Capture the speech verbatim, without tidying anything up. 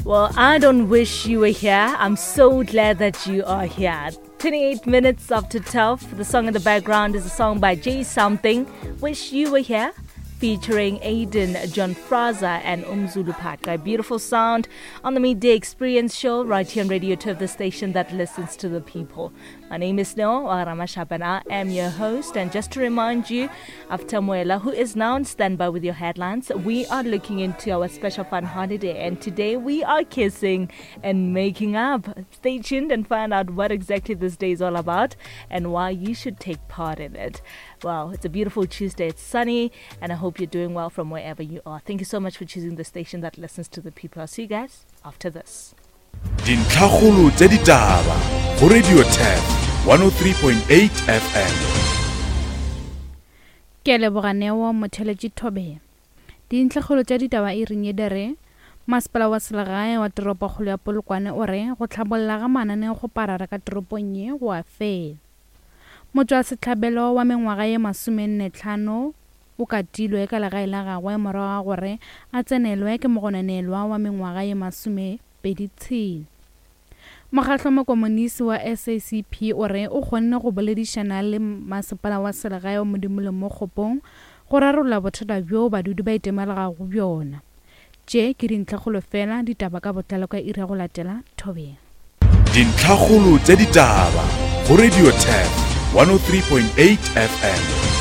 Well, I don't wish you were here. I'm so glad that you are here. twenty-eight minutes after twelve. The song in the background is a song by J'Something, Wish You Were Here, featuring Aiden, John Fraser and Umzulu Paka. A beautiful sound on the Midday Experience show right here on Radio two, the station that listens to the people. My name is Neo Ramashap and I am your host. And just to remind you, after Muela, who is now on standby with your headlines, we are looking into our special fun holiday. And today we are kissing and making up. Stay tuned and find out what exactly this day is all about and why you should take part in it. Wow, it's a beautiful Tuesday. It's sunny, and I hope you're doing well from wherever you are. Thank you so much for choosing the station that listens to the people. I'll see you guys after this. Dintlhakgolo tsa ditaba go Radio Turf one oh three point eight F M. Ke leboga Neo Motheletši Thobela. Dintlhakgolo tsa ditaba e reng e dere Masepala wa selegae wa toropokgolo ya Polokwane o re go tlhabolla ga mananeo go parara ka toropong ye go a fela. Motho wa sehlabelo wa mengwaga ye masomenne tlhano o katilwe ka legae la gagwe morago ga gore a tsenelwe ke mogononelwa wa mengwaga ye masomepedi tshela. Mokgatlo mokomonisi wa S A C P o re o kgonne go boledišana le masepala wa selegae wa Modimolle mo Kgopong go rarolla bothata bjo badudi ba itemogelago bjona. Tše ke dintlhakgolo fela, ditaba ka botlalo ka iri ya go latela Thobela. Dintlhakgolo tša ditaba go Radio Turf one oh three point eight F M.